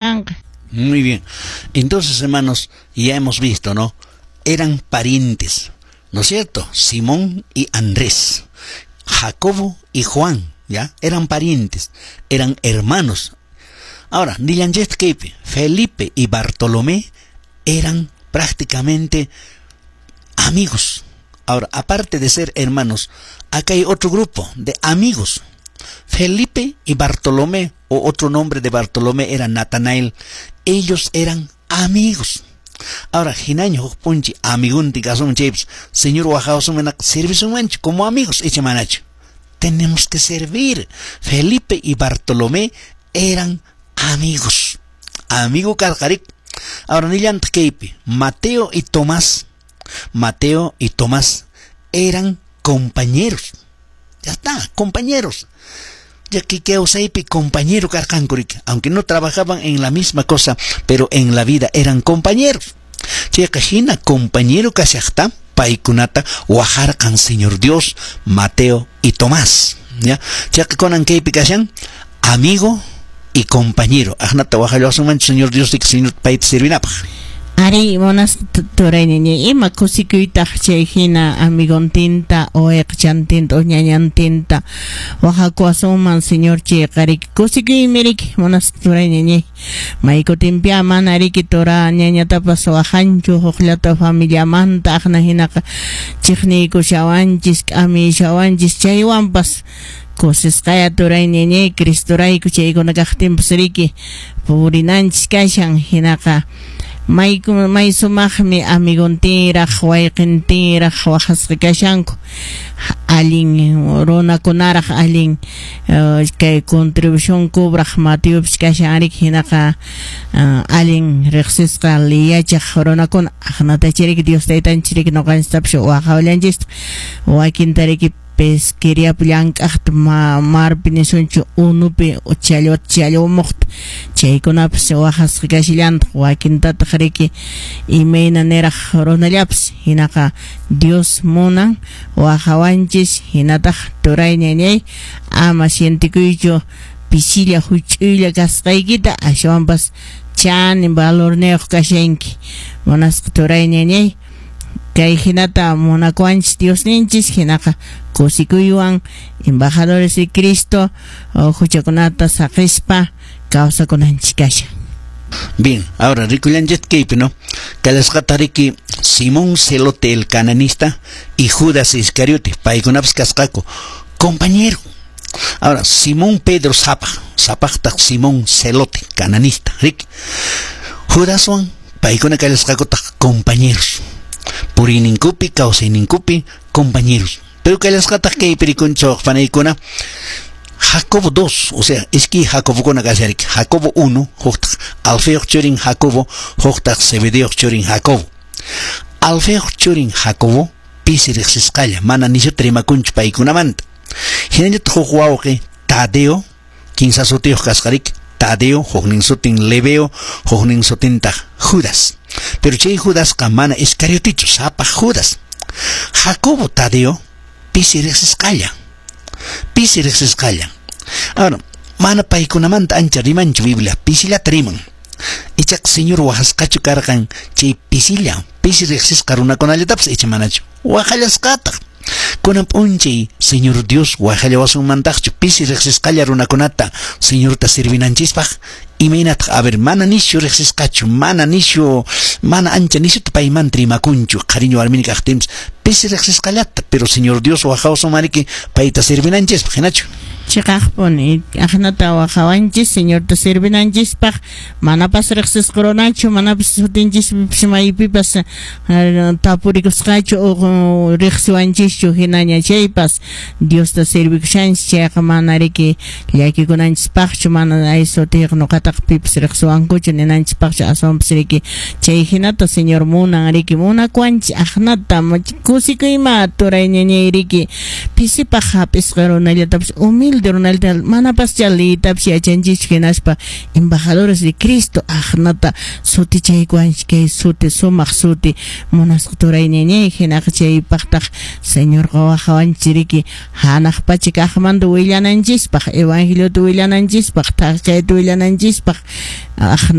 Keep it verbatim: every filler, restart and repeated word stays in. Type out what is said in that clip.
Kanqa. Muy bien. Entonces, hermanos, ya hemos visto, ¿no? Eran parientes, ¿no es cierto? Simón y Andrés, Jacobo y Juan, ¿ya? Eran parientes, eran hermanos. Ahora, nillanchistaq kaypi, Felipe y Bartolomé eran prácticamente amigos. Ahora, aparte de ser hermanos, acá hay otro grupo de amigos. Felipe y Bartolomé, o otro nombre de Bartolomé era Natanael, ellos eran amigos. Ahora, hinaña huk p'unchay amiguntin kasunman chaypas, Señor wajawasunmanqa servisunmanchu como amigos icha manachu. Tenemos que servir. Felipe y Bartolomé eran amigos. Amigo karqarik. Ahora nillantaq kaypi, Mateo y Tomás, Mateo y Tomás eran compañeros. Ya está, compañeros. Ya que kawsaypi compañero karqanku riki, aunque no trabajaban en la misma cosa, pero en la vida eran compañeros. Chayqa hina compañero kashaqta paykunata wajarqan Señor Dios, Mateo y Tomás. ¿Ya? Chayqa kunan kaypi kashan amigo y compañero. Aqnata wajallawasunmanchu Señor Dios riki Señor payta servinapaq. Ari, munasqa turay ñañay, ima kusikuytaq chay hina amigontinta o wayqichantinta o ñañantinta wajakuwasunman Señor chayqa riki kusikuymi riki munasqa turay ñañay maykutinpiya mana riki tura ñañatapas wajanchu hukllata familiamanta aqna hinaqa chiqniykushawanchis k'amishawanchis chaywanpas kusisqaya turay ñañay Cristorayku chaykuna kaqtinpas riki purinanchis kashan hinaqa may may sumaqmi amigontinraq wayqintinraq waqasqa kashanku allin runakunaraq allin kay contribución cobraq Mateopis kashan riki hinaqa allin riqsisqa liyachaq runakuna aqnatacha riki Dios taytanchis riki ñuqanchistapas waqawallanchistaq wakinta riki pesqueriapi llank'aqta marpi nisunchu unupi challwata challwamuqta chaykunapas waqasqa kashallantaq wakintataq riki imayna niraq runallapas hinaqa Dios munan waqawanchis hinataq turay ñañay ama sientikuychu pisilla huch'uylla kasqaykita ashwanpas chanin valorniyuq kashanki munasqa turay ñañay kay hinata munakuwanchis Diosninchis hinaqa kusikuywan embajadores de Cristo huchakunata saqispa kawsakunanchis kashan. Bien, ahora rikullanchis kaypi, ¿no? Kallasqata riki Simón Celote el cananista y Judas Iscariote, paykunapas kasqaku compañero. Ahora, Simón Pedro sapaq, sapaqtaq Simón Celote, cananista, riki. Judaswan paykuna kallasqakutaq compañeros. Puriyninkupi, kawsayninkupi, compañeros. Pero kallasqataq kaypi rikunchik panaykuna Jacobo dos, o sea, iskay Jacobokuna kashariki. Jacobo uno, huktaq Alfeoq churin Jacobo, huktaq Zebedeoq churin Jacobo. Alfeoq churin Jacobo pisi riqsisqalla, mana nishuta rimakunchu paykunamanta. Hinallataq huk wawqi Tadeo, kinsa sutiyuq kasqa riki, Tadeo, huknin sutin Lebeo, huknin sutintaq Judas. Pero chay Judasqa mana Iscariotichu, sapaq Judas. Jacobo Tadeo pisi riqsisqalla. Pisi riqsisqalla. Ahora, mana paykunamanta ancha rimanchu Biblia, pisillata riman. Ichaqa Señor waqasqachu karqan chay pisilla, pisi riqsisqa runakunallatapas icha manachu. Waqallasqataq. Kunan p'unchay Señor Dios waqallawasunmantaqchu pisi riqsisqalla runakunata Señorta servinanchispaq imaynataq a ver mana nishu riqsisqachu mana nishu mana ancha nishuta paymanta rimakunchu qhariñu warmini kaqtinpas pisi riqsisqallata pero Señor Dios waqawasunmariki payta servinanchispaq hinachu. Chiqaqpuni aqnata waqawanchis Señorta servinanchispaq manapas riqsisqa runachu manapas sutinchispipas maypipas tapurikusqachu o riqsiwanchischu hinaña chaypas Diosta servikushanchis chayqa mana riki llakikunanchispaqchu mana ay sutiyuq ñuqataqa pipas riqsiwankuchu ninanchispaqchu aswanpas riki chay hinata Señor munan riki munakuwanchis aqnata kusikuyma turay ñañay riki pisipaq hap'isqa runallatapas humilde Humilde runalta manapascha liytapas yachanchischu, hinaspa embajadores de Cristo aqnata sutichaykuwanchik, kay suti sumaq suti, munasqa turay ñañay. Hinaqa chaypaqtaq Señorqa wajawanchik riki hanaq pacha kaqmanta willananchispaq, evangeliota willananchispaq, thak kayta willananchispaq.